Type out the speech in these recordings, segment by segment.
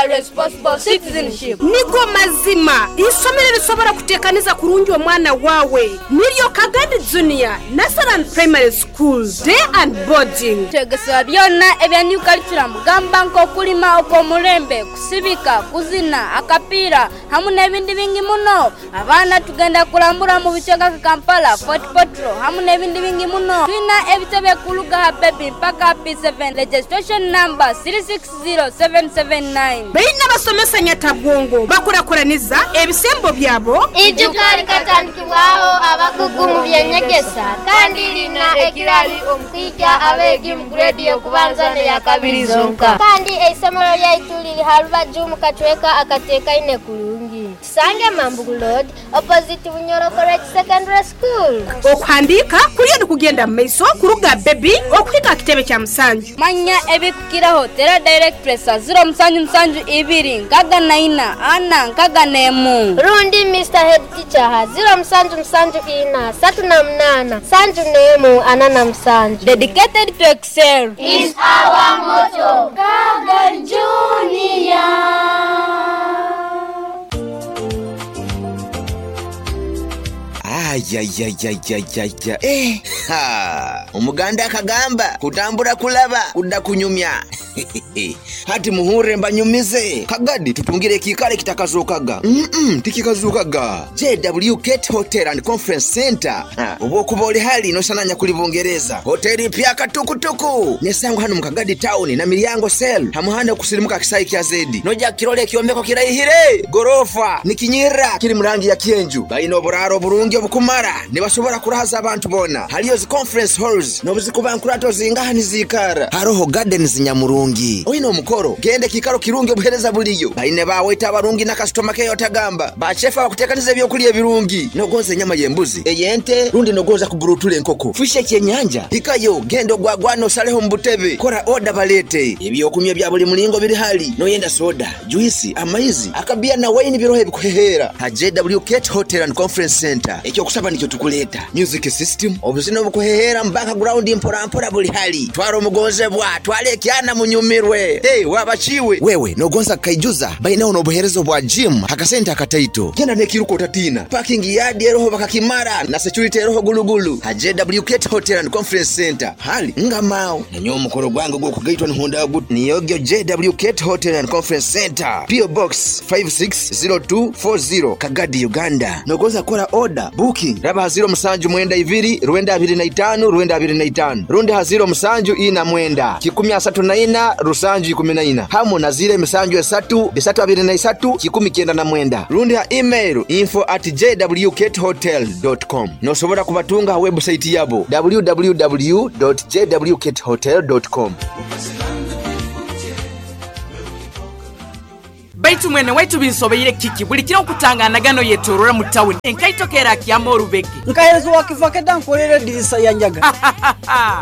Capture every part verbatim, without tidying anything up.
Responsible citizenship. Nigo mazima isomero lisobora kutekaniza kurungi omwana wawe niryo Kagadi Junior Nursery and Primary School Day and Boarding. Twegesebwa byonna ebya new curriculum gamba nk'okulima okw'omulembe, kusibika, kuzina, akapiira hamu n'ebindi bingi muno. Abaana tugenda kulambura mu bicweka ka Kampala, Fort Portal hamu n'ebindi bingi muno. Tulina ebitebe kuluga ha baby mpaka P seven, registration number three six zero seven seven nine. Baina basomesa nyatabwongo bakurakuraniza ebisembo byabo. Ijuka likatandikibwaho abakugu mu byenyegesa kandi lina ekirali omukwija abeegi mu grade y'okubanza n'eya kabiri zonka. Kandi eisomero lyaitu liri ha rubaju mu kacweka akateekaine kurungi. Tusange Mambugu Road opposite Bunyoro College Secondary School. Okuhandiika kuriyo nikugenda mu maiso kuruga baby okuhika kitebe kya musanju. Manya ebikukiraho tera direct pressa zero musanju musanju ibiri nkaga na ina ana nkaga n'emu. Rundi Mister Head Teacher ha zero musanju musanju ina satu na munana sanju n'emu ana na musanju. Dedicated to excel is our motto. Kaga Junior. Ayayayayayaya. Eh, ha. Omuganda akagamba kutambura kulaba kudda kunyumya. Hati muhure mbanyumize. Kagadi tutungire kikale kitakazukaga. Mm-mm, tikikazukaga. J W Gate Hotel and Conference Center. Obwokuba oli hali nosananya kuli Bungereza. Hoteli pya katukutuku. Nesango hano mu Kagadi town na Milyango cell. Hamuhanda kusirimuka kisayi kya Zedi. Noja kirole kiombeko kirayihire. Gorofa nikinyira kiri murangi ya kienju. Bayina oburaro burungi obukumara. Nibasobora kurahaza abantu bona. Haliyo zi conference halls nobuzikuba nkurato zingaha nizikara. Haroho gardens nyamurungi. Oyina omukoro gende kikaro kirungi obuhereza buliyo. Baine bawe abarungi na customer care otagamba. Bachefa bakutekaniza ebyokulya ebirungi. Nogonza enyama y'embuzi, ey'ente, rundi nogonza kuburutula enkoko. Fishe kyenyanja. Hikayo gendo gwagwano saleho mbutebe. Kora order balete. Ebyokunywa bya buli mulingo biri hali. Noyenda soda, juice, amaizi, akabia na wine birohe bikuhehera. Ha J W Gate Hotel and Conference Center. Ekyo kusaba nikyo tukuleta. Music system, obuzina obukuhehera mu background mpora mpora buli hali. Twara omugonzebwa, twale ekyana munyumirwe. Hey, wabachiwe. Wewe nogonza kaijuza bainaho nobuherezo bwa gym hakasenta akataito. Genda nekiruko utatina. Parking yard eroho bakakimara na security eroho gulugulu. Ha J W Gate Hotel and Conference Center. Hali ngamao. Nanyo omukoro gwange gwokugaitwa nihonda gut. Niyogyo J W Gate Hotel and Conference Center. P O Box five six zero two four zero Kagadi Uganda. Nogonza kora order booking raba haziro musanju mwenda ibiri rwenda abiri na itanu rwenda abiri na itanu rundi haziro musanju ina mwenda kikumi asatu na ina rusanju ikumi na ina hamu na zile misanju esatu bisatu abiri na isatu kikumi kenda na mwenda rundi ha email info at j w gate hotel dot com. Nosobora kubatunga ha website yabo w w w dot j w gate hotel dot com. Baitu mwene waitu binsobeire kiki buli kiro okutangana gano yetorora mu town enkaito kera kyama orubege nkaherezo wakivakeda nkorere dirisa ya njaga.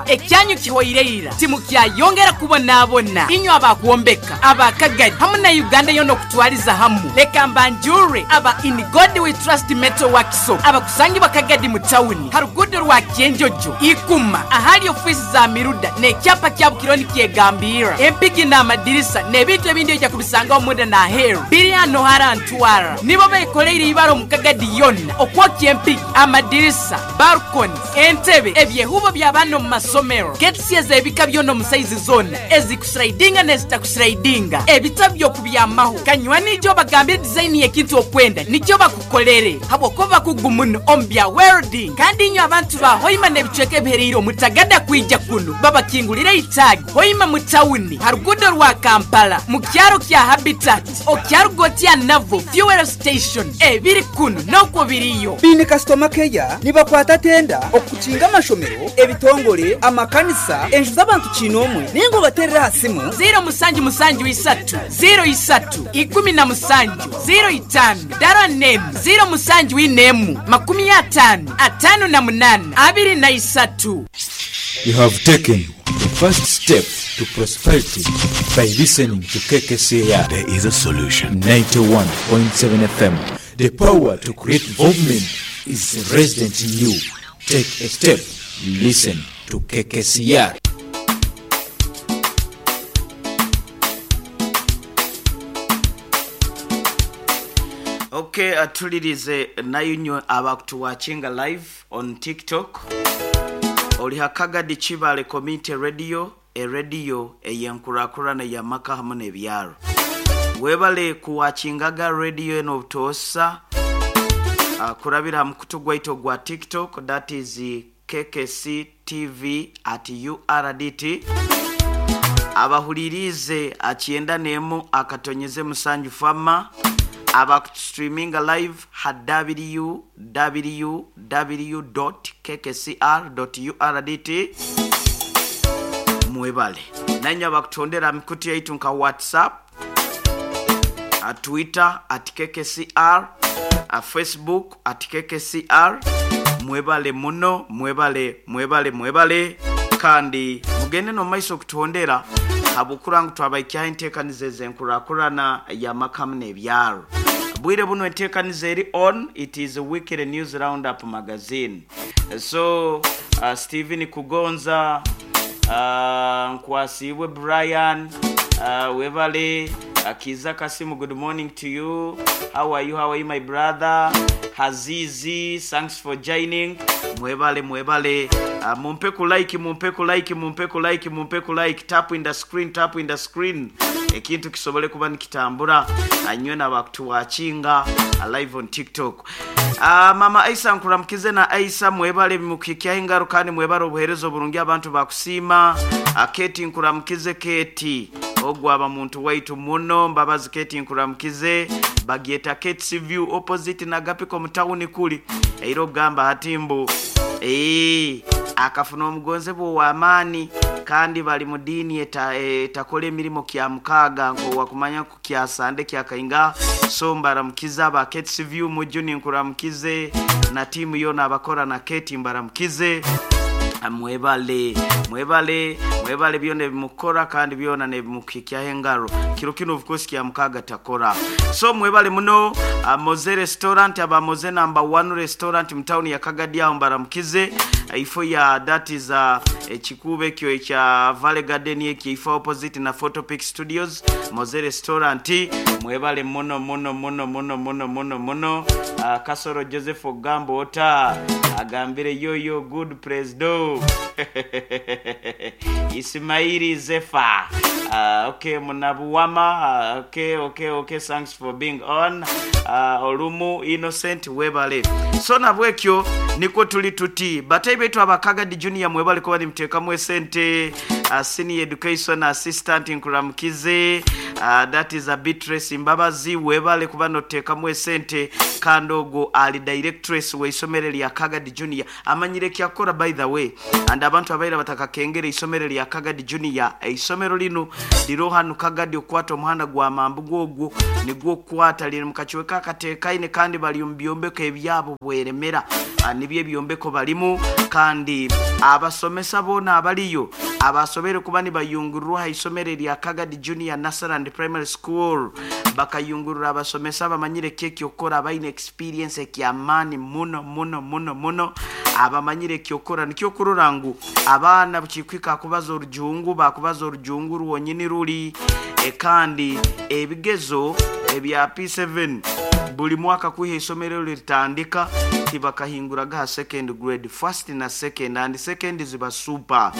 Ekyanyu kihoireira timu kyayongera kubonabona inyo abakuombeka abakagadi hamu na Uganda yono kutwaliza hamu leka mbanjure aba In God We Trust Metal Workshop abakusangi bakagadi mu town harugudo rwa Kyenjojo ikuma ahali ofisi za miruda nekyapa kya Bukironi kyegambira empigi na amadirisa nebintu ebindi ejja kubisanga omunda na heru biri hano harantwara nibo bekoleire ibaro mukagadi yonna okwokya empigi amadirisa balconies entebe ebyehubo by'abana mu masomero getsi ebika byonna mu saizi zonna ezikuslidinga nezitakuslidinga ebitabo by'okubyamaho kanywani jo bagambire design y'ekintu okwenda nikyo bakukolere habwokuba bakugumuno omu bya welding kandi inyo abantu ba Hoima n'ebicweka ebihereire omutagada kwija kuno babakingulire itagi Hoima mu tawuni harugudo rwa Kampala mu kyaro kya Habitat okyarugotia navo fuel station ebiri kuno nokwo biriyo. Bini customer care nibakwata tenda okukinga amashomero ebitongole amakanisa enju z'abantu kinomwe ningo baterera hasimu zero musanju musanju isatu zero isatu ikumi na musanju zero itano dara nemu zero musanju inemu makumi atano atano na munana abiri na isatu. You have taken the first step to prosperity by listening to K K C R. There is a solution. ninety-one point seven F M. The power to create movement is resident in you. Take a step. Listen to K K C R. Okay, atulirize nayo abakutuwatchinga live on TikTok. Oli Hakagadi Kibale Community Radio, e radio eyenkurakurana ya maka hamu n'ebyaro. Webale kuwatchingaga radio eno obutosa uh, kurabira mukutu gwaitu gwa TikTok, that is K K C T V at U R D T. Abahulirize akienda nemu akatonyeze musanju fama. Abakustreaminga live ha w w w dot k k c r dot u r d t. Mwebale nanya abakutondera mikutu yaitu nka WhatsApp, a Twitter at K K C R, a Facebook at K K C R. Mwebale muno, mwebale, mwebale, mwebale. Kandi mugende no maiso kutondera abukurangu twabaikya entekanize zenkurakurana ya makamu n'ebyaro. Bwire buno entekanize eri on, it is a weekly news roundup magazine. So uh, Stephen Kugonza, uh, Nkwasibwe Brian, uh, Webale, Akiza Kasimu, good morning to you. How are you? How are you, my brother? Hazizi, thanks for joining. Mwebale, mwebale. Uh, mumpe ku like, mumpe ku like, mumpe ku like, mumpe ku like. Tap in the screen, tap in the screen. Ekintu kisobole kuba nikitambura. Anywe na bakutuwatchinga live on TikTok. Uh, Mama Aisa nkuramkize na Aisa mwebale mukikya ingaro kandi mwebale obuherezo burungi abantu bakusima. Uh, Keti nkuramkize Keti. Ogwaba muntu waitu muno mbabazi Keti nkuramkize. Bagieta Keti View opposite na Gapiko mutawuni kuli. Eiro gamba hatimbu. Eh, akafuna omugonze bwo wa amani kandi bali mu dini eta etakole emirimo kya mukaga ngo wakumanya ku kya sande kya kainga. So mbaramukiza ba Keti View mujuni nkuramkize na timu yona abakora na Keti mbaramukize. Mwebale, mwebale, mwebale byone bimukora kandi byona ne bimukikya hengaro. Kiro kino of course kya mukaga takora. So mwebale muno uh, Moze restaurant aba Moze number one restaurant mu town ya Kagadi aho mbaramukize. Ifo ya that is uh, ekikube kyo ekya Valley Garden eki ifo opposite na Photopic Studios. Moze restaurant mwebale muno muno muno muno muno muno muno. Uh, Kasoro Joseph Ogambo ota agambire yoyo good presido. Ismaili Zefa. Uh, okay, Munabuwama. Uh, okay, okay, okay. Thanks for being on. Uh, Olumu Innocent webale. So nabwekyo niko tuli tuti. Batai betu abakagadi junior mwebale kwa ni mteka mwesente. Uh, senior education assistant nkuramkize. Uh, that is a Beatrice Mbabazi webale kuba noteka mwesente. Kandogo ali directress we isomero lya Kagadi Junior. Amanyire kyakora by the way. And abantu abaira batakakengere isomero lya Kagadi Junior. Isomero lino lirohanu Kagadi okwata omuhanda gwa mambugo ogwo nigwo kwata liri mukachiweka katekaine kandi bali mubyombeko ebyabo bweremera. Nibye byombeko balimu kandi abasomesa bona abaliyo abasobere kuba nibayungurwa isomero lya Kagadi Junior Nursery and Primary School bakayungurura abasomesa bamanyire keki okora abaine experience ekyamani muno muno muno muno abamanyire kyokora nikyo kurora ngu abaana bukikwika kubaza orujungu bakubaza orujungu ruwonyini ruli e kandi ebigezo ebya P seven buli mwaka kuhe isomero litandika tibakahinguraga second grade, first na second, and second ziba super.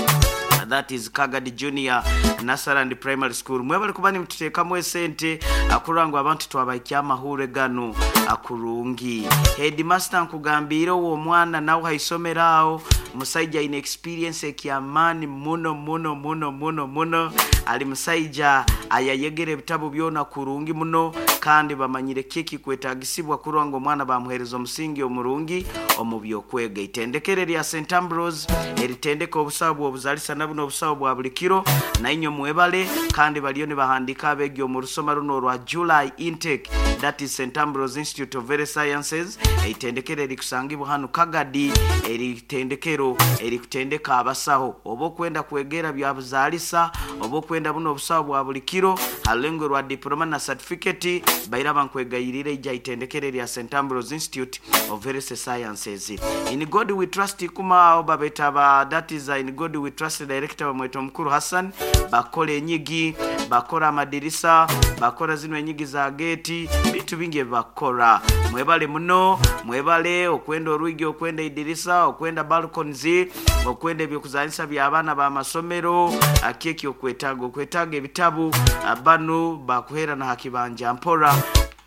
That is Kagadi Junior Nursery and Primary School. Mwebale kuba nimututekamu esente akurangu abantu twabaikya amahure gano akurungi. Headmaster nkugambira uwo mwana nawe haisomeraho musaija ine experience ekyamani muno muno muno muno muno. Ali musaija ayayegere ebitabo byona kurungi muno kandi bamanyire kiki kwetagisibwa kurango mwana bamuhereza omusingi omurungi omubyokwega. Itendekere lya Saint Ambrose eritendeka obusawo obuzalisa nabuno obusawo bwa buli kiro na inyo mwebale kandi baliyo ne bahandika abegi omurusoma runo rwa July intake, that is Saint Ambrose Institute of Health Sciences. Itendekere likusangibwa hano Kagadi, eritendekero erikutendeka abasaho oba okwenda kwegera bya buzalisa oba okwenda buno obusawo bwa buli kiro halengo rwa diploma na certificate baira bankwegayirira ija itendekere lya Saint Ambrose Institute of Health Sciences. appliances. In God we trust kuma babeta ba that is in God we trust director bamweta omukuru Hassan, bakora enyigi, bakora amadirisa, bakora zino enyigi za geti, bintu bingi bakora. Mwebale muno, mwebale okwenda orwigi, okwenda idirisa, okwenda balconies, okwenda ebyokuzanisa by'abaana ba masomero, akeki okwetaga okwetaga ebitabu abanu bakuhera na hakibanja mpora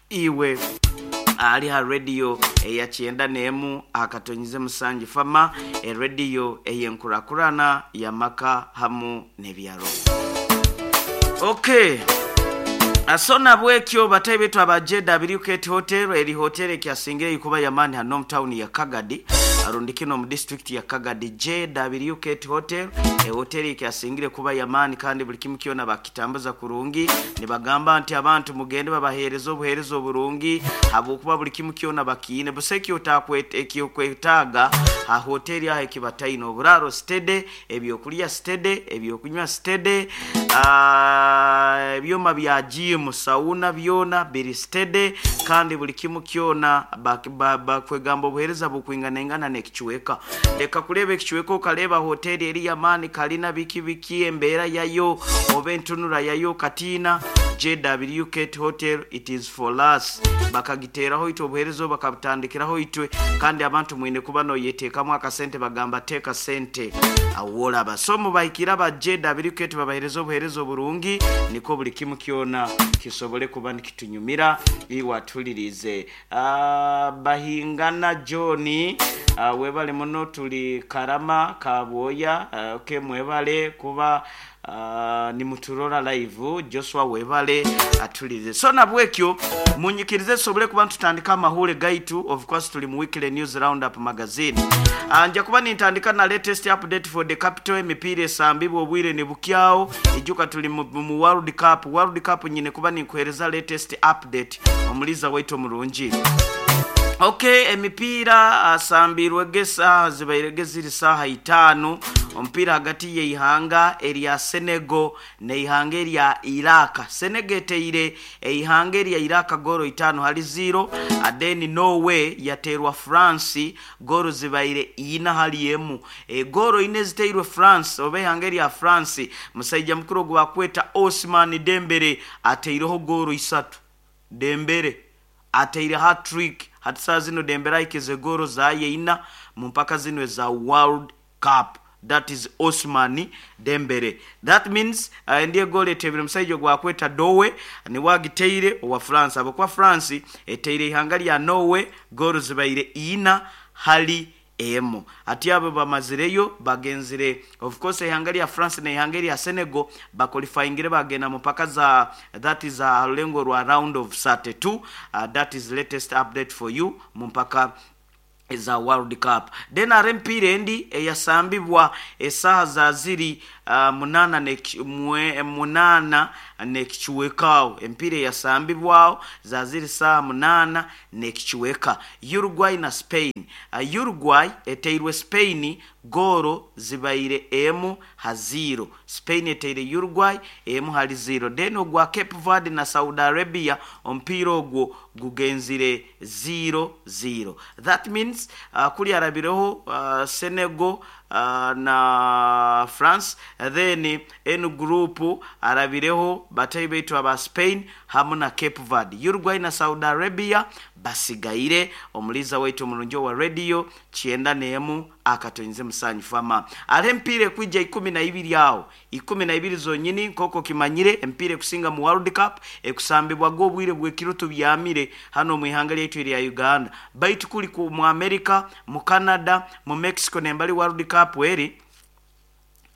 iwe ali ha radio eya kyenda n'emu akatonyize musanji fama e radio eyenkurakurana ya maka hamu n'ebyaro. Okay. Asona bwekyo batayi betu aba J W K Hotel, eri hotel ekyasingire ikuba ya mani hano town ya Kagadi, arundikino mu district ya Kagadi. J W K Hotel e hotel ekyasingire kuba ya mani kandi buli kimu kyona bakitambuza kurungi, nibagamba nti abantu mugende babahereza obuhereza oburungi habwokuba buli kimu kyona bakiine buseki otakwete ekyokwetaaga ha hoteli aho ekibataino oburaro stede, ebyokulya stede, ebyokunywa stede, ebyoma bya gym sauna byona biri stede kandi buli kimu kyona bakwegamba obuhereza bukwinganengana nekichweka. Leka kuleba ekichweka okaleba hoteli eri yamani kalina biki biki embeera yayo oba entunura yayo katina. J W K Hotel, it is for us. Bakagiteraho itwe obuherezo bakabutandikiraho itwe kandi abantu mwine kuba noyeteekamu akasente bagamba teeka sente awolaba. So mubahikira ba J W K babahereza obuherezo burungi niko buli kimu kyona kisobole kuba nikitunyumira iwatulirize. Uh, Bahingana Johnny, uh, webale muno tuli Karama Kabwoya, uh, okay, mwebale kuba Uh, ni muturora live. Joshua webale atulize. So nabwekyo munyikirize sobole kuba tutandika amahule gaitu. Of course tuli mu weekly news roundup magazine. Uh, nja kuba nintandika na latest update for the capital emipiira esambibwa obwire ne bukyao ijuka tuli mu, mu World Cup. World Cup nyine kuba ninkuhereza latest update omuliza waitu mulungi. Okay, emipiira asambirwe gesa zibairege ziri saha itano. Omupiira hagati y'eihanga erya Senegal n'eihanga erya Iraq. Senegal eteire eihanga erya Iraq goro itano hali zero. Adeni Norway yaterwa France goro zibaire ina hali emu. E, goro ine ziteirwe France oba ihanga erya France musajja mukuru gwa kweta Osman Dembele ateireho goro isatu. Dembele ateire hat-trick. Hati saa zino Dembele aikeze goro zaye ina mu mpaka zino za World Cup. That is Osman Dembele. That means uh, ndiye gole etebire musajja gwa kweta Dowe ni wagiteire owa France. Abo kwa France eteire ihanga lya Norway goro zibaire ina hali emu. Ati abo bamazireyo bagenzire of course ihanga lya France na ihanga lya Senegal baqualifyingire bagenda mu paka za that is a lengo rwa round of thirty-two. Uh, that is latest update for you mu mpaka za World Cup. Then arempire endi eyasambibwa esaha za ziri uh, munana ne mwe, munana nekichwekao. Empire yasambibwao za ziri saa munana nekichweka. Uruguay na Spain. Uh, Uruguay eteirwe Spain goro zibaire emu ha zero. Spain eteire Uruguay emu hali zero. Then ogwa Cape Verde na Saudi Arabia ompira ogwo gugenzire zero zero. That means uh, kuli arabireho uh, Senegal uh, na France, then enu group arabireho batayi betu aba Spain hamu na Cape Verde. Uruguay na Saudi Arabia basigaire. Omuliza wetu mulunjo wa radio chienda neemu akatonze musanyi fama. Ale mpire kuija ikumi na ibiri yao ikumi na ibiri zonyini nkoko kimanyire empire kusinga mu World Cup ekusambibwa go bwire bwekiroto byamire hano mu ihanga lyetu lya Uganda. Baitu kuli ku mu America, mu Canada, mu Mexico nembali World Cup eri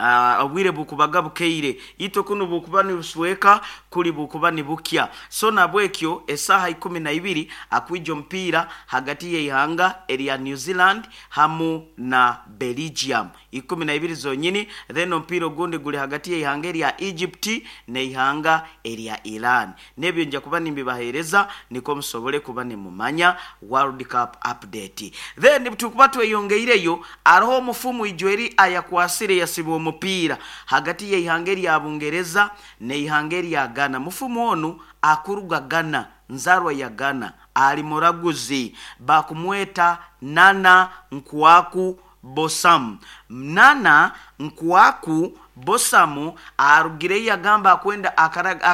Uh, obwire bukubaga bukeire ito kuno bukuba ni busweka kuli bukuba ni bukya. So nabwekyo esaha ikumi na ibiri akwijo mpira hagati ya ihanga erya New Zealand hamu na Belgium ikumi na ibiri zonyini. Then mpira ogundi guli hagati ya ihanga erya Egypt ne ihanga erya Iran. Nebyo nja kuba nimbibahereza niko musobole kuba nimumanya World Cup update. Then tukuba tweyongeireyo aroho omufumu ijweri ayakwasire yasibo mupira hagati ya ihanga erya Bungereza ne ihanga erya Ghana. Mufumu onu akuruga Ghana, nzarwa ya Ghana, ali muraguzi bakumweta Nana Nkwaku Bosamu. Nana Nkwaku Bosamu arugire yagamba akwenda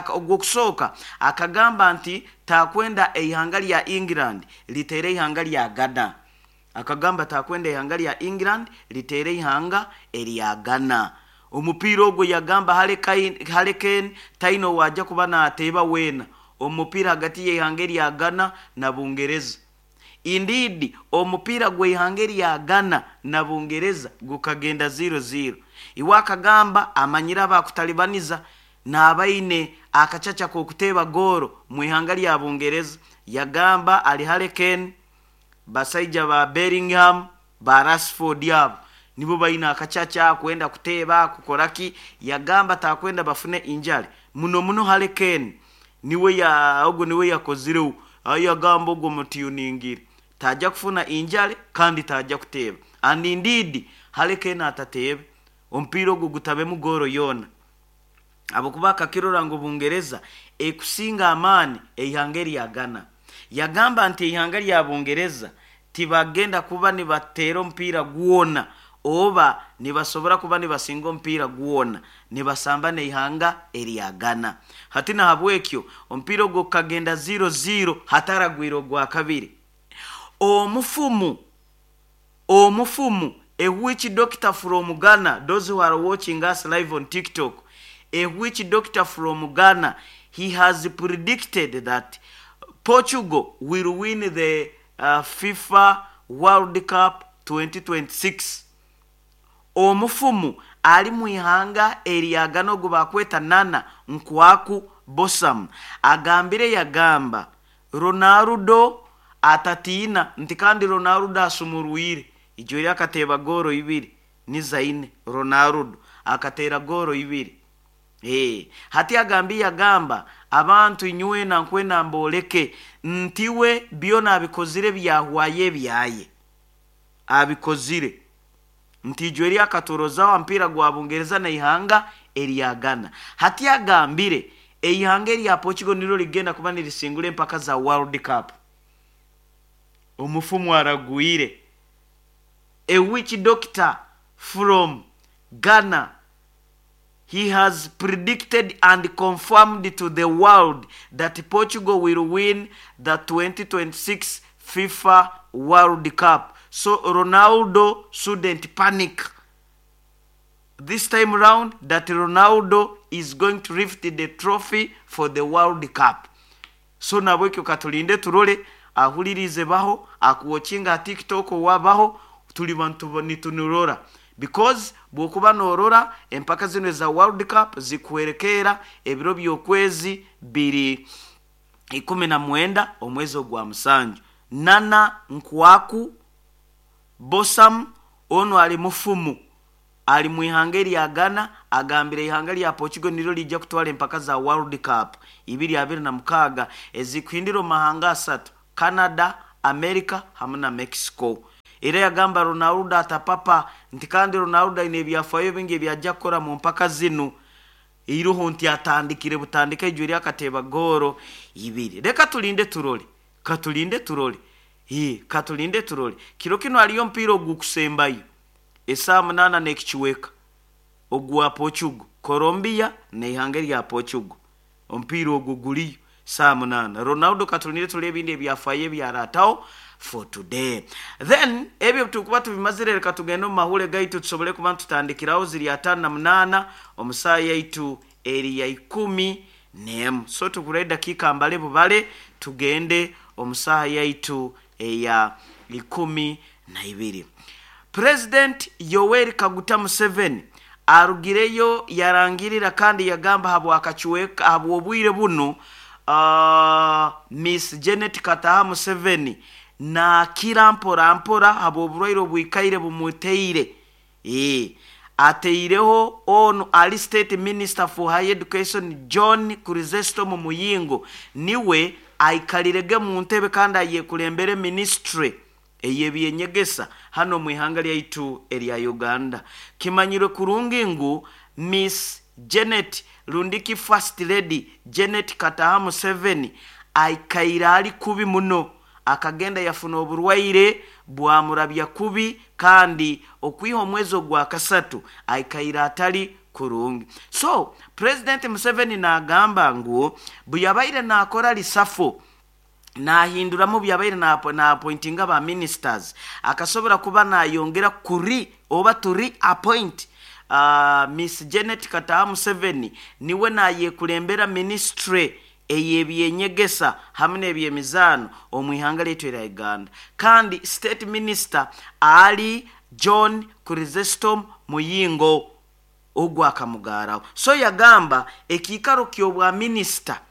ogwokusooka akagamba nti takwenda eihanga lya England litere ihanga lya Ghana. Akagamba takwenda ihanga lya England litere ihanga erya Ghana. Omupiira ogwo yagamba Harry Kane taino wajja kuba nateeba weena omupiira hagati y'ihanga erya Ghana na Bungereza. Indeed omupiira gw'ihanga erya Ghana na Bungereza gukagenda zero zero. Iwe akagamba amanyira abakutalibaniza n'abaine akacaca k'okuteeba gooro mu ihanga lya Bungereza. Yagamba ali Harry Kane, basaija ba Bellingham, ba Rashford abo nibo baina akacaca kwenda kuteeba kukoraki. Yagamba takwenda bafune injale muno muno. Harry Kane niwe ya ogwo niwe yakozirewo ayagamba ogwo mutiyuningire tajja kufuna injale kandi tajja kuteeba. And indeed Harry Kane atateebe omupiira ogwo gutabemu gooro yoona abakuba akakirora ngu Bungereza ekusinga amaani eihanga erya Ghana. Yagamba nti eihanga lya Bungereza tibagenda kuba nibateera omupiira gwona oba nibasobora kuba nibasinga omupiira gwona nibasamba neihanga erya Ghana. Hati nahabwekyo omupiira ogwo kagenda zero zero hataragwire ogwa kabiri. Omufumu omufumu a witch doctor from Ghana, those who are watching us live on TikTok, a witch doctor from Ghana, he has predicted that Portugal will win the uh, FIFA World Cup twenty twenty-six. Omufumu ali mu ihanga erya Ghana ogwo bakweta Nana Nkwaku Bosamu agambire yagamba Ronaldo atatiina nti kandi Ronaldo asumurwire ijo eri akateeba gooro ibiri ni zaine Ronaldo akateera gooro ibiri. Eh, hati agambi yagamba abantu inywena nkwena mboleke ntiwe byona abikozire byahwaye byaye abikozire nti ijo eri akatoroza wa mpira gwa Bungereza na ihanga erya Ghana. Hati agambire eihanga erya Portugal niro ligenda kuba nirisingura empaka za World Cup. Omufumu aragwire. A witch doctor from Ghana, he has predicted and confirmed to the world that Portugal will win the twenty twenty-six FIFA World Cup. So Ronaldo shouldn't panic. This time round, that Ronaldo is going to lift the trophy for the World Cup. So nabwekyo katulinde turole ahulirize baho akuwochinga TikTok wabaho tuli bantu nitunurora because bwokuba norora empaka zino za World Cup zikuwerekera ebiro by'okwezi biri ikumi na mwenda omwezi ogwa musanju. Nana Nkwaku Bosamu ono ali mufumu ali mu ihanga erya Ghana agambire ihanga lya Portugal niryo lijja kutwala empaka za World Cup ibiri abiri na mukaaga ezikuhindira mahanga asatu Canada, America hamwe na Mexico. Era yagamba Ronaldo atapapa nti kandi Ronaldo aine ebyafayo bingi ebyajja kukora mu mpaka zinu iruho nti atandikire butandika ijo eri akateeba gooro ibiri. Reka tulinde turole katulinde turole Hii, katulinde turole. Kiro kino aliyo mpira ogukusembayo esaa munana n'ekikiweka ogwa Portugal, Colombia n'ihanga lya Portugal. Omupiira ogwo guliyo saa munana. Ronaldo katulinde turole ebindi ebyafayo ebyarataho for today. Then ebyo tukuba tubimazire reka tugende mu mahule gaitu tusobole kuba tutandikiraho ziri atano na munana omusaa yaitu eri ya ikumi n'emu. So tukure dakika mbale bubale tugende omusaa yaitu eya ikumi na ibiri. President Yoweri Kaguta Museveni arugireyo yarangirira kandi yagamba habwa akacuweka habwa obwire buno uh, Miss Janet Kataha Museveni na kira mpora mpora habwa oburwaire obwikaire bumuteire. Eh, ateireho ono ali State Minister for Higher Education John Chrysostom Muyingo niwe aikalirege mu ntebe kandi ayekulembere ministry ey'ebyenyegesa hano mu ihanga lyaitu erya Uganda. Kimanyirwe kurungi ngu Miss Janet Rundiki First Lady Janet Kataha Museveni Aikaire ali kubi muno, akagenda yafuna oburwaire bwamurabya kubi, kandi okwiha omwezi ogwa kasatu aikaire atali kurungi. So President Museveni nagamba ngu bwe nakora reshuffle, nahinduramu byabaire na na appointinga ba ministers, akasobora kuba nayongera kuri oba to reappoint uh, Miss Janet Kataha Museveni niwe nayekulembera ministry ey'ebyenyegesa hamwe n'ebyemizaano omu ihanga lyaitu erya Uganda, kandi state minister ali John Chrysostom Muyingo ogwakamugaraho. So yagamba ekiikaro ky'obwa minisita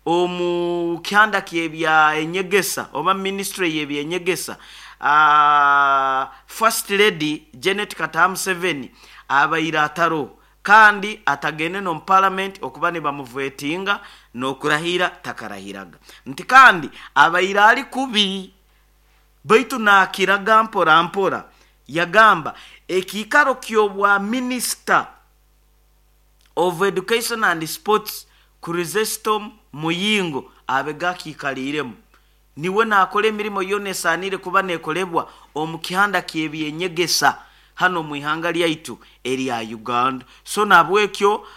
omu kyanda ky'ebya enyegesa oba ministry y'ebyenyegesa, uh, First Lady Janet Kataha Museveni abaire ataro, kandi atagende no parliament okuba ne bamuvetinga n'okurahira takarahiraga, nti kandi abaire ali kubi baitu nakiraga mpora mpora. Yagamba ekiikaro ky'obwa minister of education and sports Chrysostom Muyingo abega kikaliremu, niwe nakora emirimo yona esanire kuba nekolebwa omu kihanda ky'ebyenyegesa hano mu ihanga lyaitu erya Uganda. So nabwekyo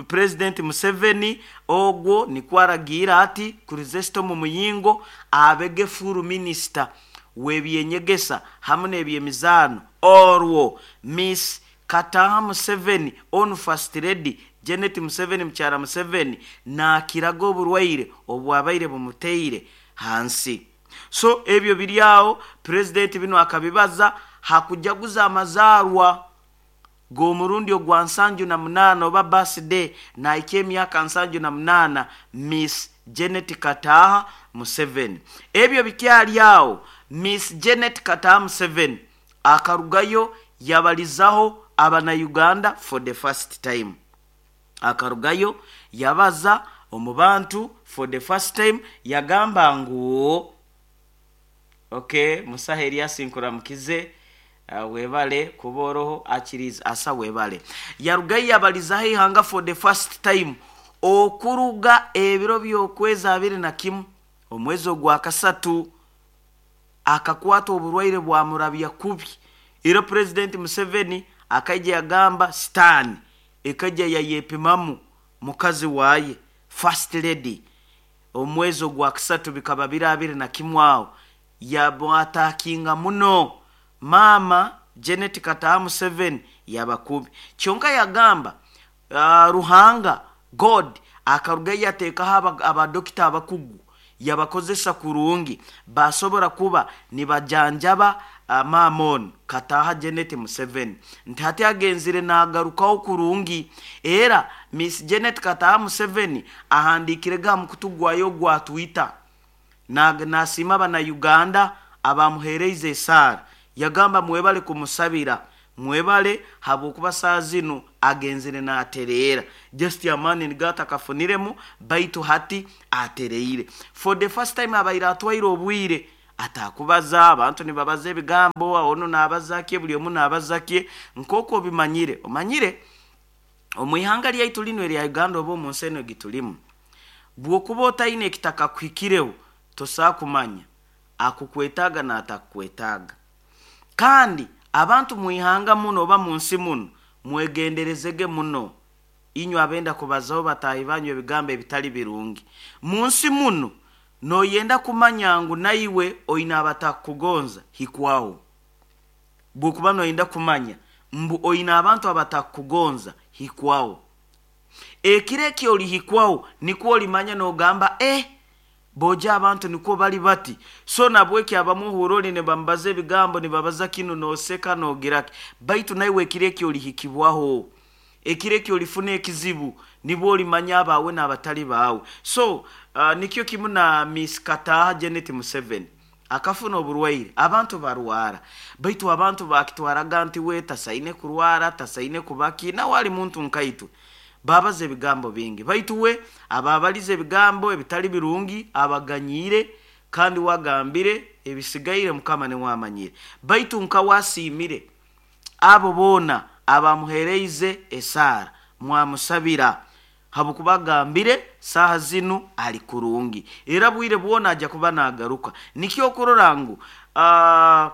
President Museveni ogwo nikwaragira ati Chrysostom Muyingo abege full minister w'ebyenyegesa hamwe n'ebyemizaano, orwo Miss Kataha Museveni on First Lady Janet Museveni mukyara Museveni nakiraga oburwaire obwabaire bumuteire hansi. So ebyo biri awo President bino akabibaza hakujaguza amazarwa g'omurundi ogwa nsanju na munaana oba birthday naika emyaka nsanju na munaana Miss Janet Kataha Museveni. Ebyo bikyali awo Miss Janet Kataha Museveni akarugayo yabalizaho abana Uganda for the first time, akarugayo yabaza omu bantu for the first time, yagamba ngu okay Musaha Elias nkuramukize, uh, webale kuboroho akiriza asa webale. Yarugayo yabalizaho ihanga for the first time okuruga ebiro by'okwezi abiri na kimu omwezi ogwa kasatu akakwata oburwaire bwamurabya kubi. Era President Museveni akaija yagamba sitaani ekajja yayepimamu mukazi waye First Lady omwezi ogwa kasatu bikaba biri abiri na kimu awo yabwatakinga muno mama Janet Kataha Museveni yabakubi. Kyonka yagamba uh, Ruhanga God akaruga yateekaho abadokita abakugu yabakozesa kurungi basobora kuba nibajanjaba uh, mamon Kataha Janet Museveni, nti hati agenzire nagarukaho kurungi. Era Miss Janet Kataha Museveni ahandikire ga mukutu gwayo gwa Twitter nasima abana Uganda abamuhereize esaara, yagamba mwebale kumusabira, mwebale habwokuba saa zino agenzire natereera, just amani nigata akafuniremu baitu hati atereire for the first time. Abaire atwaire obwire atakubaza abantu nibabaza ebigambo, ono nabazakye buli omu nabazakye nk'oku obimanyire. Omanyire omu ihanga lyaitu lino erya Uganda oba omu nsi eno egitulimu, bw'okuba otaine ekitaka kuhikireho tosaa kumanya akukwetaaga n'atakukwetaaga. Kandi abantu mu ihanga muno oba mu nsi muno mwegenderezege muno inywe abenda kubazaho bataahi banyu ebigambo ebitali birungi. Mu nsi muno noyenda kumanya ngu naiwe oine abatakugonza hikwaho, bwokuba noyenda kumanya mbu oine abantu abatakugonza hikwaho, ekiro eki olihikwaho nikwo olimanya nogamba eh boja abantu nikwo bali bati. So nabweki abamuhura oli nibamubaza ebigambo nibabaza kinu noseka nogiraki, baitu naiwe ekiro eki olihikibwaho, ekiro eki olifuna ekizibu nibwo olimanya abawe n'abatali baawe. So uh, nikyo kimu na Miss Kataha Janet Museveni akafuna oburwaire. Abantu barwara baitu abantu bakitwaraga nti we tasaine kurwara tasaine kubaki nawe ali muntu nkaitwe, babaza ebigambo bingi baitu we ababaliza ebigambo ebitali birungi abaganyire kandi wagambire ebisigaire Mukama niwamanyire, baitu nka wasiimire abo boona abamuhereize esaara mwamusabira. Habwokuba agambire saaha zinu ali kurungi, era bwire bwona ajja kuba nagaruka. Nikyo okurora ngu uh,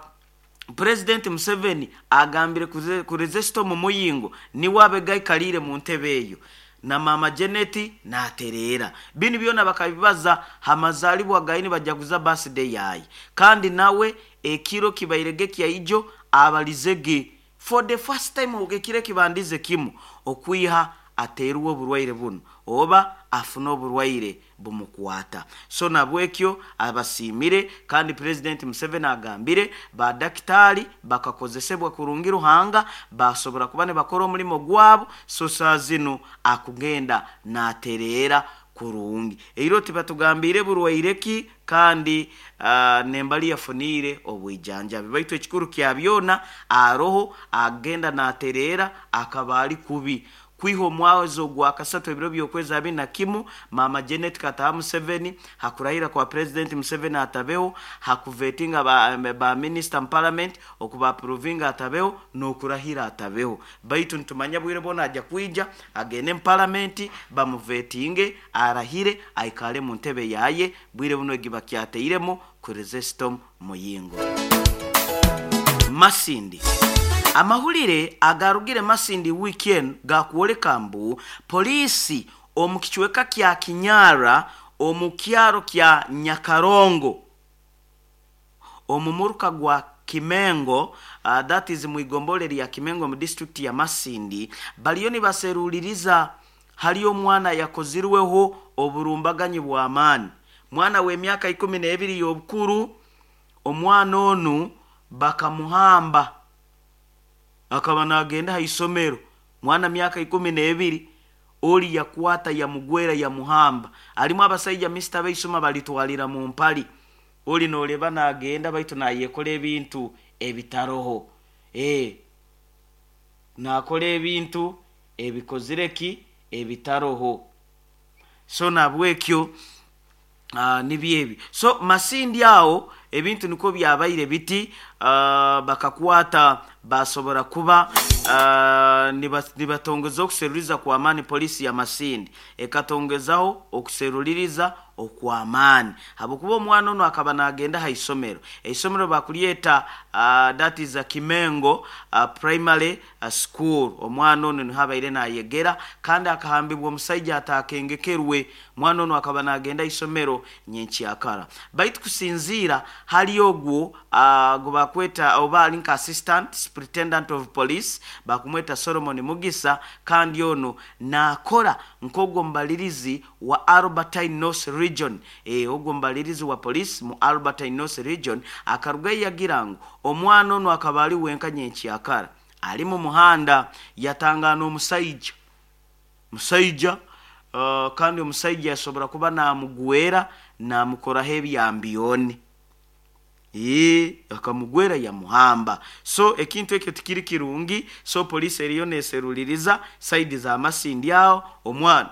President Museveni agambire Kristo mu muyingo niwe abegaikalire mu ntebe eyo, na mama Janet naterera. Binu byona bakabibaza hamazalibwa gaini bajaguza birthday yayi, kandi nawe ekiro kibairege kya ijo abalizege for the first time ekiro kibandize kimu okwiha aterwa oburwaire buno oba afuna oburwaire bumukwata. So nabwekyo abasimire, kandi President Museveni agambire ba daktari bakakozesebwa kurungi Ruhanga basobora kuba ne bakora omulimo gwabo. So saa zino akugenda naterera kurungi. Eiro tibatugambire burwaire ki kandi uh, nembali yafunire obwijanjabi, baitu ekikuru kya byona aroho agenda naterera akabali kubi. Kwiha omwezi ogwa kasatu ebiro by'okwezi abiri na kimu mama Janet Kataha Museveni hakurahira kwa President Museveni atabeho, hakuvetinga ba, ba minister mu parliament okuba approvinga atabeho n'okurahira atabeho. Baitu nitumanya bwire bwona ajja kwija agende mu parliament bamuvetinge arahire aikale mu ntebe yaye. Bwire buno egibakyateiremu Kristo Muyingo. Masindi amahulire agarugire Masindi weekend gakuoleka mbu polisi omu kichweka kya Kinyara omu kyaro kya Nyakarongo omumuruka gwa Kimengo, uh, that is mwigombole lya Kimengo mu district ya Masindi, baliyo nibaseruliriza hali omwana yakozirweho oburumbaganyi bw'amaani. Mwana w'emyaka ikumi n'ebiri y'obukuru, omwana onu bakamuhamba akaba nagenda ha isomero. Mwana myaka ikumi n'ebiri oli yakwata yamugwera yamuhamba. Alimu abasajja mister beisoma balitwalira mu mpali, oli noleba nagenda baitu nayekola ebintu ebitaroho, eh nakola ebintu ebikozireki ebitaroho. So nabwekyo uh, nibyebi. So Masindi awo ebintu niko byabaire biti, uh, bakakwata basobora kuba uh, nibatongeza okuseruliriza kwa amani. Polisi ya Masindi ekatongezaho okuseruliriza okw'amaani habwokuba omwana ono akaba nagenda ha isomero. Eisomero bakulyeta uh, that is a Kimengo uh, primary uh, school. Omwana ono nihabaire nayegera kandi akahambibwa omusajja atakengekerwe. Mwana ono akaba nagenda isomero nyenkyakara, baitu kusinziira hali ogwo uh, gubakweta oba ali nka assistant superintendent of police bakumweta Solomon Mugisa, kandi ono nakora nk'ogwo mbalirizi wa Albertine North Region. E, ogwo mbalirizi wa police mu Albertine North Region akaruga yagira ngu omwana ono akaba ali wenka nyenkyakara ali mu muhanda yatangana omusajja musajja uh, kandi omusajja yasobora kuba namugwera namukoraho ebyambiyoni, ee akamugwera yamuhamba. So ekintu ekyo tikiri kirungi. So police eriyo neseruliriza saidi za Masindi aho omwana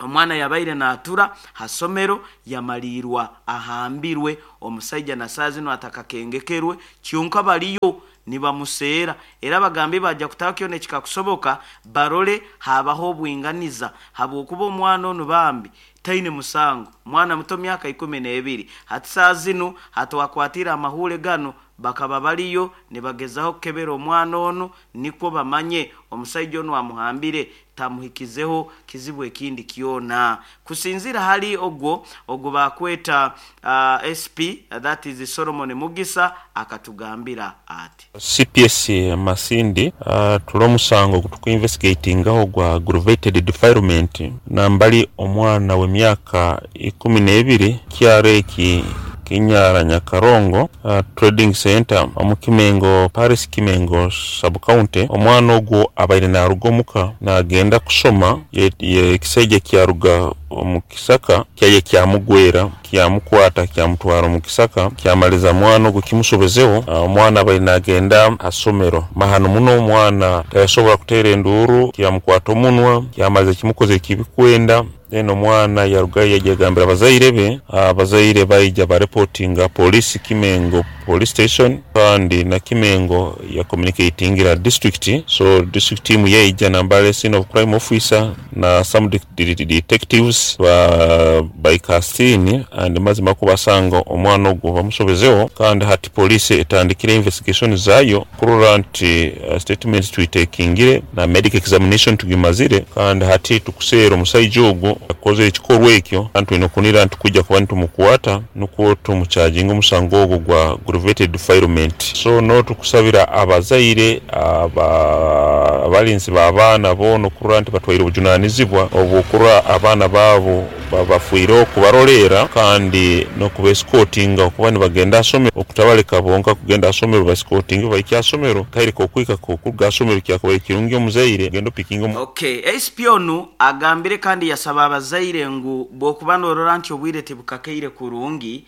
omwana yabaire natura hasomero yamalirwa ahambirwe omusajja na saa zino atakakengekerwe kyonka baliyo nibamuseera. Era bagambe bajja kutaakyo nekikakusoboka barole habaho obwinganiza habwokuba omwana ono bambi taine musango, mwana muto myaka ikumi n'ebiri. Hati saa zino hatuwakwatira amahule gano bakaba baliyo nibagezaho kukebera omwana ono nikwo bamanye omusajja ono amuhambire tamuhikizeho kizibu ekindi kyona. Kusinzira hali ogwo ogwo bakweta uh, S P uh, that is Solomon Mugisa akatugambira ati C P S Masindi uh, tulo musango kutuku investigatingaho gwa aggravated defilement nambali omwana w'emyaka ikumi n'ebiri kyareki Kinyara Nyakarongo uh, trading center omu Kimengo Paris Kimengo sub county. Omwana ogwo abaire naruga omuka nagenda kusoma, ekisajja kyaruga omu kisaka kyaye kyamugwera kyamukwata kyamutwara omu kisaka kyamaliza mwana ogwo kimusobezeho. Omwana abaire nagenda asomero mahano muno, omwana tayasobora kuteera enduuru, kyamukwata omunwa kyamaliza kimukoze kibikwenda. Then omwana yarugayo yajagambira abazaire be, abazaire baija bareportinga polisi Kimengo Police Station, kandi na Kimengo ya communicatingira district. So district team yeija nambale scene of crime officer na some de de de detectives ba baikasini, and mazima kubasanga omwana ogwo bamusobezeho. Kandi hati police etandikire investigation zayo kurora nti uh, statements tuitekingire na medical examination tugimazire, kandi hati tukuseera omusaija ogwo akoze ekikorwa ekyo, kandi twine okunira nti kujja kuba nitumukwata nukwo tumucharginga omusango ogwo gwa aggravated defilement. So no tukusabira abazaire aba abalinzi b'abaana boona okurora nti batwaire obujunanizibwa obwokurora abaana baabo babafuire okubarolera, kandi n'okubesikotinga okuba nibagenda asomero, okutabaleka bonka kugenda asomero, basikotinge bahike asomero kaireka okwika okuruga asomero kyakubaire kirungi omuzaire genda opikinga omu. Okay, S P onu agambire kandi yasaba abazaire ngu bwokuba norora nti obwire tibukakeire kurungi,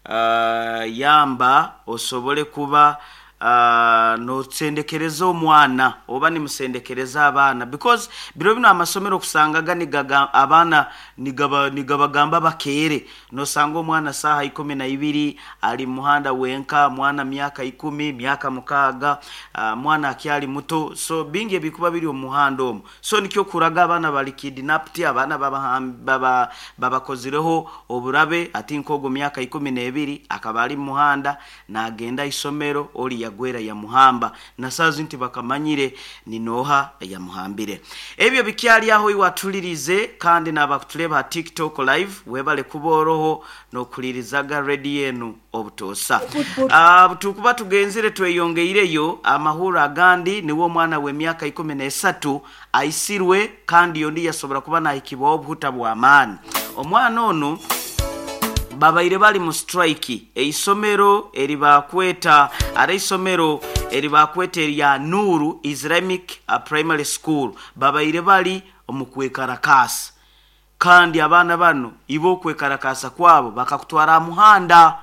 uh, yamba osobole kuba uh, nosendekereza omwana oba nimusendekereza abaana, because biro bino amasomero kusangaga nigaga abaana nigaba nigabagamba bakere, nosanga omwana saha ikumi na ibiri ali muhanda wenka, mwana myaka ikumi, myaka mukaga, uh, mwana akyali muto, so bingi ebikuba biri omuhanda omwo. So nikyo kuraga abaana bali kidnapped, abaana baba babakozireho oburabe. Ati nkogo myaka ikumi na ebiri akaba ali muhanda nagenda isomero, oli yagwera ya muhamba na sazi nti bakamanyire ni noha ya muhambire. Ebyo bikyali aho iwatulirize, kandi n'abakutuleba TikTok live webale kuboroho nokulirizaga ready yenu obutosa. Uh, tukuba tugenzire tweyongeireyo amahura agandi niwo mwana we myaka ikumi na esatu aisirwe, kandi yondi yasobora kuba nahikibwa obuhuta bwa maani. Omwana ono babaire bali mu strike eisomero eribakweta ara isomero eribakweta erya Nuru Islamic Primary School, babaire bali omukwekarakasa, kandi abaana bano ibo kwekarakasa kwabo bakakutwara muhanda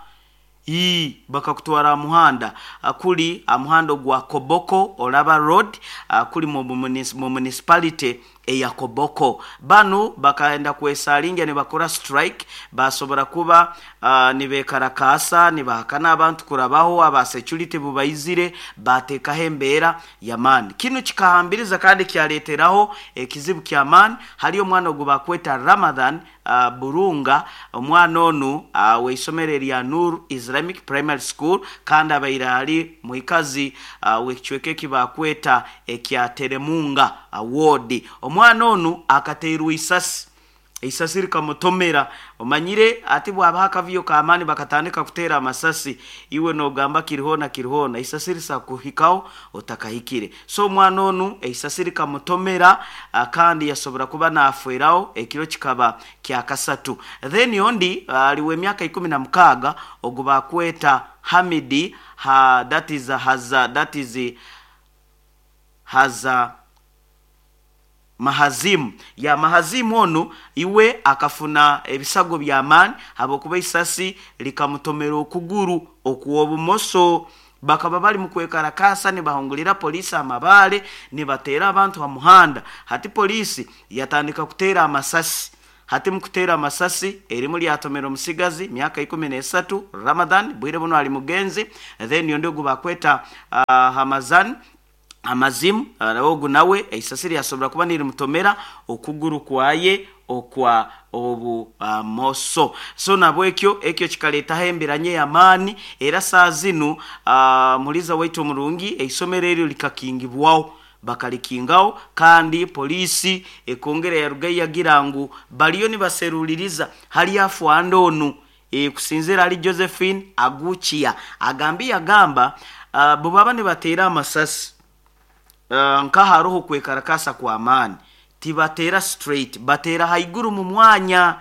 i bakakutwara muhanda akuli amuhando gwa Koboko Olaba Road, akuli mu municipality eya Koboko. Bano bakaenda kwesalinga ne bakora strike, basobora kuba uh, nibekarakasa nibahakana abantu kurabaho aba security bubaizire batekaho embeera ya mani. Kino kikahambiriza kandi kyaleteraho ekizibu kya mani. Hali omwana ogwo bakweta Ramadhan uh, Burunga, omwana onu uh, weisomero erya Nur Islamic Primary School, kandi abaire ali muikazi uh, wekicweka ekibakweta ekya Teremunga Award. Omwana onu akateerwa isasi, isasi likamutomera. Omanyire ati bwaba akaviyo kamani bakatandika kutera amasasi, iwe nogamba kirihona kirihona, isasi lisakuhikao otakahikire. So omwana onu isasi likamutomera, kandi yasobora kuba naafweraho ekiro kikaba kya kasatu. Then yondi aliwe myaka ikumi na mukaga ogwo bakweta Hamidi ha, that is haza that is haza Mahazimu ya Mahazimu onu iwe akafuna ebisago bya mani habokuba isasi likamutomera okuguru okuobumoso. Bakaba bali mukwekarakasa nibahungulira polisi amabale nibatera abantu ha muhanda. Hati polisi yatandika kutera amasasi, hati mukutera amasasi erimu lyatomera omusigazi myaka ikumi na esatu Ramadhan bwire buno ali mugenzi. Then yondo gubakweta uh, Hamazan Amazimu ogu nawe eisasi lyasobora kuba nirimutomera okuguru kwaye okwa obumoso. Uh, so nabo ekyo ekyo kikaletaho emberanye y'amaani. Era saa zinu uh, muliza waitu omurungi eisomero eryo likakingibwaho, bakalikingaho, kandi polisi ekongera yaruga yagira ngu baliyo nibaseruliriza hali afwanda onu e, kusinzira ali Josephine Aguchia agambi yagamba uh, bubaba nibatera amasasi Uh, nka haroho kwekarakasa kwa amani tibatera straight, batera haiguru mu mwanya.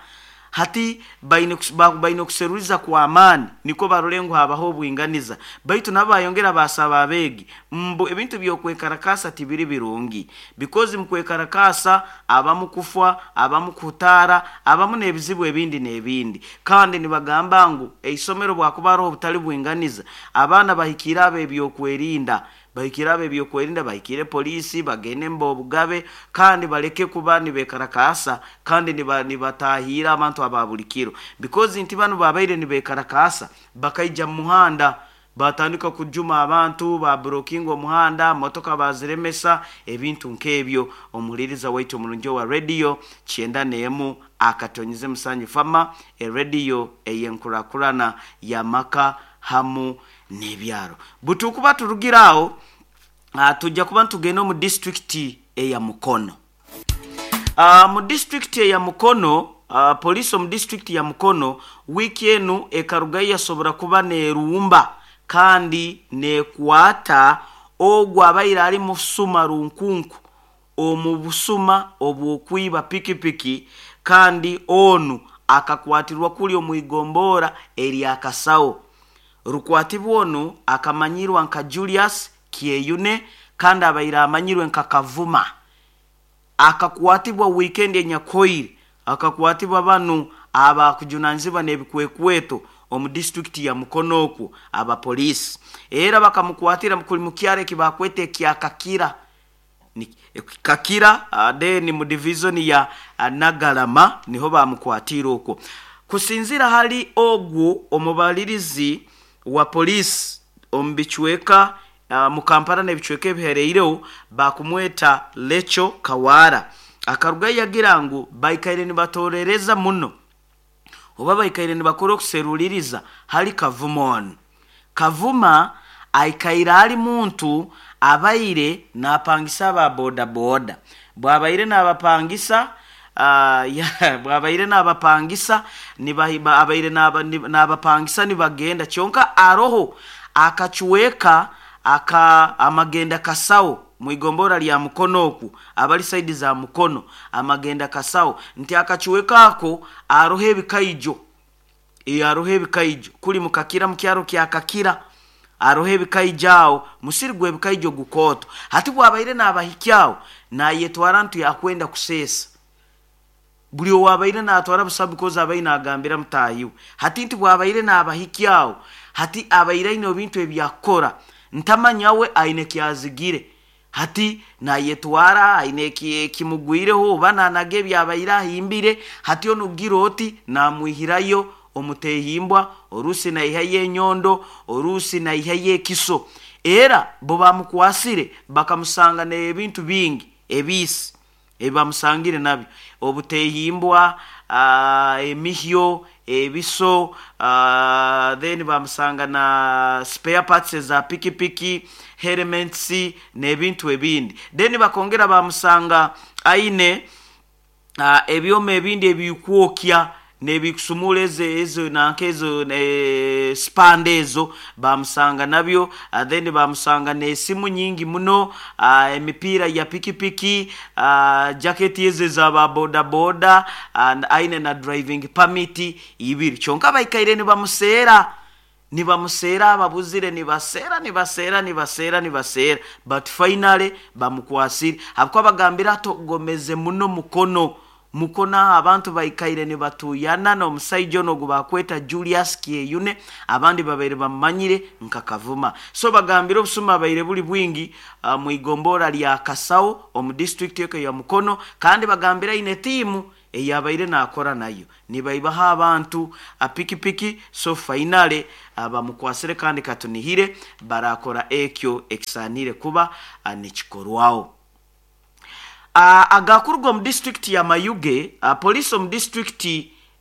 Hati baine baine kuseruliza kwa amani niko barulengo habaho obwinganiza. Baitu nabo bayongera basaba abegi mbu ebintu byokwekarakasa tibiri birungi, because mukwekarakasa abamu kufwa, abamu kutara, abamu nebizibu ebindi nebindi. Kandi nibagamba ngu eisomero bwakubaro obutali bwinganiza abaana bahikira abe ebyokwerinda, bahikira abe ebyokwerinda, bahikire polisi bagende mbo obugabe, kandi baleke kuba nibekarakasa, kandi nibatahira abantu ababulikiro, because nti bano babaire nibekarakasa bakaija muhanda Batandika kujuma abantu, baburokinga omuhanda, motoka baziremesa, ebintu nk'ebyo. Omuhuliriza waitu omurungi wa radio kyenda n'emu akatonyize musanju fama, erediyo ey'enkurakurana y'amaka hamu n'ebyaro. Butukuba turugiraho, tujja kuba ntugenda omu disitulikiti eya Mukono. Uh, mu disitulikiti eya Mukono, uh, poliisi omu disitulikiti ya Mukono wiiki enu ekarugayo yasobora kuba neerumba kandi neekwata ogwo abaire ari musuma runkunku omu busuma obw'okwiba pikipiki, kandi onu akakwatirwa kuli omu igombora erya Kasawo. Rukwatibwa onu akamanyirwa nka Julius Kyeyune kandi abaire amanyirwe nka Kavuma. Akakwatibwa weekend enyakoire, akakwatibwa banu abakujunanizibwa n'ebikwekweto omu disitulikiti ya Mukono okwo abapoliisi. Era bakamukwatira kuli mu kyaro eki bakweta ekya Kakira. Ni, Kakira then mu division ya Nagalama niho bamukwatira okwo. Kusinzira hali ogwo omubalirizi wa poliisi omu bicweka uh, mu Kampala n'ebicweka ebihereireho bakumweta Lecho Kawara. Akaruga yagira ngu baikaire nibatorereza muno oba baikaire nibakora okuseruliriza hali Kavuma ono. Kavuma aikaire ali muntu abaire napangisa aba boda boda. Bwabaire nabapangisa uh, ya, bwabaire nabapangisa niba abaire nabapangisa nibagenda kyonka aroho akachweka aka amagenda Kasawo mwigombora lya Mukono oku abali saidi za Mukono amagenda Kasawo nti akachuweka ako aroho ebikaijo e aroho ebikaijo kuli mukakira mukyaro kya Kakira aroho ebikaijo awo musiri gwe ebikaijo gukoto. Hati bwabaire nabahikyao nayetwara ntu yakwenda kusesa buli owabaire natwara busabu koza abaire nagambira mutahiwe. Hati nti bwabaire nabahikyao hati abaire aine ebintu ebyakora ntamanyawe aine kyazigire hati nayetwara aine kimugwireho oba nanage ebyabaire ahimbire. Hati onugira oti namwihirayo omutehimbwa orusi naihayo enyondo orusi naihayo ekiso. Era bo bamukwasire bakamusanga n'ebintu bingi ebisi ebibamusangire nabyo, obutehimbwa, uh, emihyo, ebiso, uh, then bamusanga na spare parts za pikipiki, helmets n'ebintu ebindi. Then bakongera bamusanga aine uh, ebyoma ebindi ebikwokya nebikusumula ezo ezo nankezo ne spandezo bamusanga nabyo. Uh, then bamusanga n'esimu nyingi muno, uh, emipiira ya pikipiki, uh, jacket ezo za ba boda boda and aine na driving permit ibiri. Kyonka baikaire nibamuseera nibamuseera ababuzire nibaseera nibaseera nibaseera nibaseera but finally bamukwasire. Habwo bagambira togomeze muno Mukono Mukono abantu baikaire nibatuyana n'omusajja ono gubakweta Julius Kyeyune abandi babaire bamanyire nka Kavuma. So bagambira obusuma baire buli bwingi uh, mu igombora lya Kasawo omu district yake ya Mukono, kandi bagambira ine tiimu eyabaire nakora nayo nibaibaha abantu apikipiki. So finally abamukwasire kandi katunihire barakora ekyo ekisanire kuba uh, nikikorwaho. Uh, agakuruga mu district ya Mayuge, uh, police omu district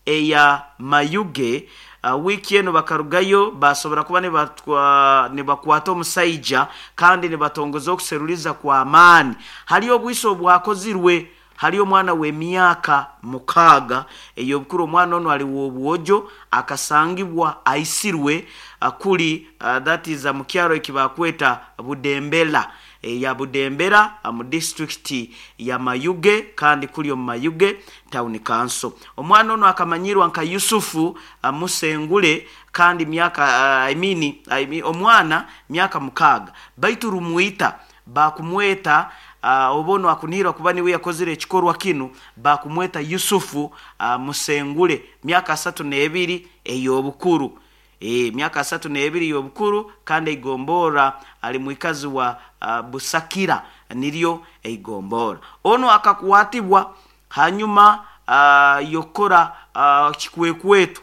eya Mayuge uh, wiki eno bakarugayo basobora kuba nibakwata omusaija kandi nibatongoza okuseruliza kwa amaani. Hali obwiso obwakozirwe hali omwana w'emyaka mukaaga ey'obukuru. Omwana ono ali w'obwojo akasangibwa aisirwe uh, kuli uh, that is uh, mu kyaro ekibakweta Budembera e, ya Budembera mu district ya Mayuge kandi kuli omu Mayuge town council. Omwana ono akamanyirwa nka Yusufu uh, Musengule kandi myaka uh, I mean, I mean, omwana myaka mukaaga baitu rumwita bakumweta uh, obono akunihirwa kuba niwe yakozire ekikorwa kinu bakumweta Yusufu uh, Musengule myaka asatu n'ebiri ey'obukuru. E, myaka asatu n'ebiri y'obukuru kandi eigombora ali mwikazi wa uh, Busakira niryo eigombora. Ono akakwatibwa hanyuma uh, yokora uh, kikwekwetu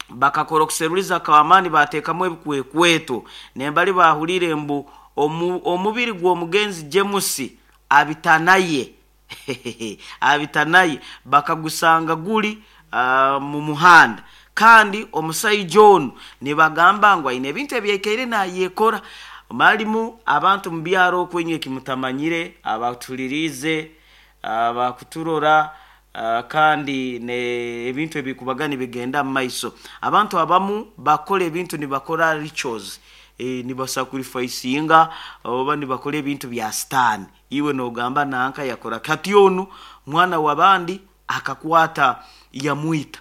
Bakakora okuseruliza kw'amaani, bateekamu ebikwekweto, nembali bahulire mbu omu, omubiri gw'omugenzi James Abitanaye Abitanaye bakagusanga guli uh, mu muhanda. Kandi omusaija onu nibagamba ngu aine ebintu ebyaikaire nayekora. Malimu abantu mu byaro okwenywe kimutamanyire, abatuliriize, abakuturora, uh, kandi ne ebintu ebikubaga nibigenda mu maiso. Abantu abamu bakora ebintu, nibakora rituals, e, nibasacrificinga oba nibakora ebintu bya sitaani. Iwe nogamba nanka yakora kati, onu mwana w'abandi akakwata yamwita,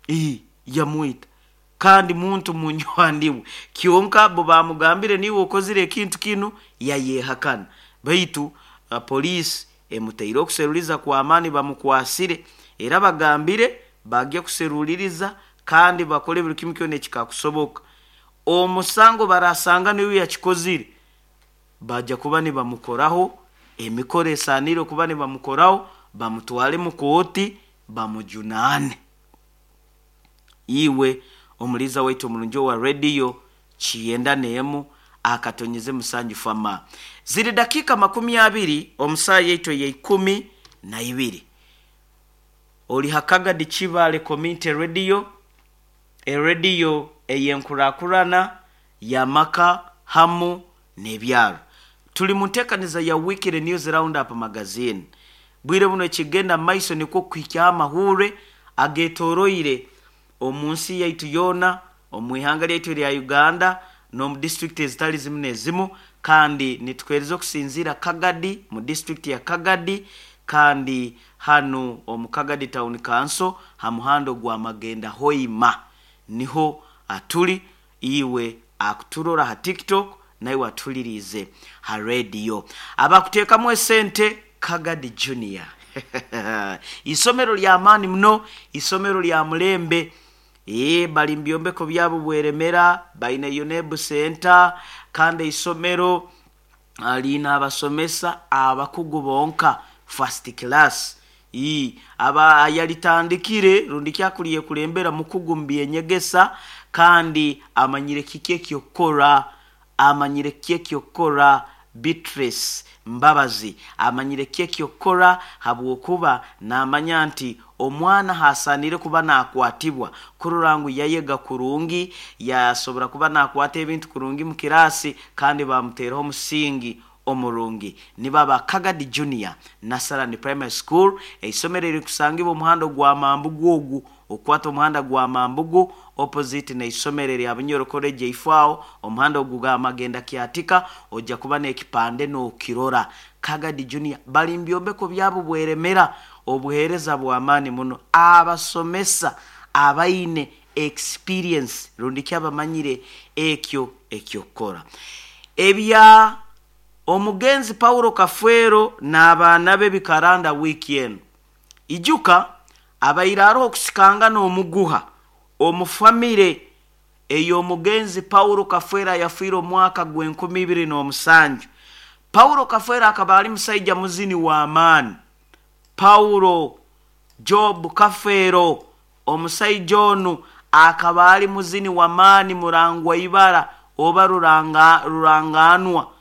e, yamwita kandi muntu munywani we. Kyonka bo bamugambire, "Niwe okozire ekintu kinu?" Yayehakana. Baitu uh, poliisi emuteire okuseruliza kw'amaani, bamukwasire, era bagambire bagye kuseruliriza kandi bakole buli kimu kyona ekikakusoboka. Omusango barasanga niwe yakikozire, bajja kuba nibamukoraho emikoro esaanire okuba nibamukoraho, bamutwale mu kooti, bamujunaane. Iwe omuliza waitu omurungi owa rediyo kiyenda neemu akatonyeze musanju fama, ziri dakiika makumi abiri omusaa yaitu eyeikumi na ibiri. Oli Hakagadi Kibale Community Radio, erediyo eyenkurakurana yamaka hamu n'ebyaro. Tuli mu nteekaniza ya Weekly News Roundup Magazine. Bwire buno ekigenda mu maiso nikwo kuhikyaho amahure agetoroire omu nsi yaitu yoona, omu ihanga lyaitu erya Uganda, n'omu disitulikiti ezitali zimu n'ezimu. Kandi nitukuheereza okusinziira Kagadi, mu disitulikiti ya Kagadi, kandi hanu omu Kagadi Town Council, ha muhanda gwa Magenda Hoima niho atuli. Iwe akuturora ha TikTok, naiwe atuliriize ha rediyo, abakuteekamu esente, Kagadi Junior, isomero ly'amaani muno, isomero lya mulembe. Ee, bali mu byombeko byabo bweremera, baine U N E B Center, kandi isomero ah, liina abasomesa abakugu bonka, first class. Ii, aba yalitandikire rundi kyakuliye kulembera mukugu mu byenyegesa, kandi amanyire kiki ekyokukora, amanyire kiki ekyokukora. Beatrice Mbabazi amanyire kiki ekyokukora, habwokuba namanya nti omwana hasanire kuba nakwatibwa kurora ngu yayega kurungi, yasobora kuba nakwata ebintu kurungi mu kirasi, kandi bamuteeraho omusingi omurungi. Nibo Kagadi Junior Nasarani Primary School, eisomero erikusangibwa omuhanda gwa Mambugu ogu okwata omuhanda gwa Mambugu, opposite n'eisomero erya Bunyoro College eifaaho, omuhanda ogu gwa Magenda Kyatika, ojja kuba n'ekipande n'okirora. Kagadi Junior bali mu byombeko byabo bweremera, obuheereza bw'amaani muno, abasomesa abaine experience rundi ki abamanyire ekyo ekyokukora. Ebya omugenzi Paulo Kafeero n'abaana be bikaranda wiiki eno. Ijuka abaire aroho okusikanga n'omuguha omu famire ey'omugenzi Paulo Kafeero yafiire omwaka gw'enkumi ibiri n'omusanju. Paulo Kafeero akaba ali musaija muzini w'amaani. Paulo Job Kafeero, omusaija onu akaba ali muzini w'amaani, murangwa ibara oba ruranga, ruranganwa.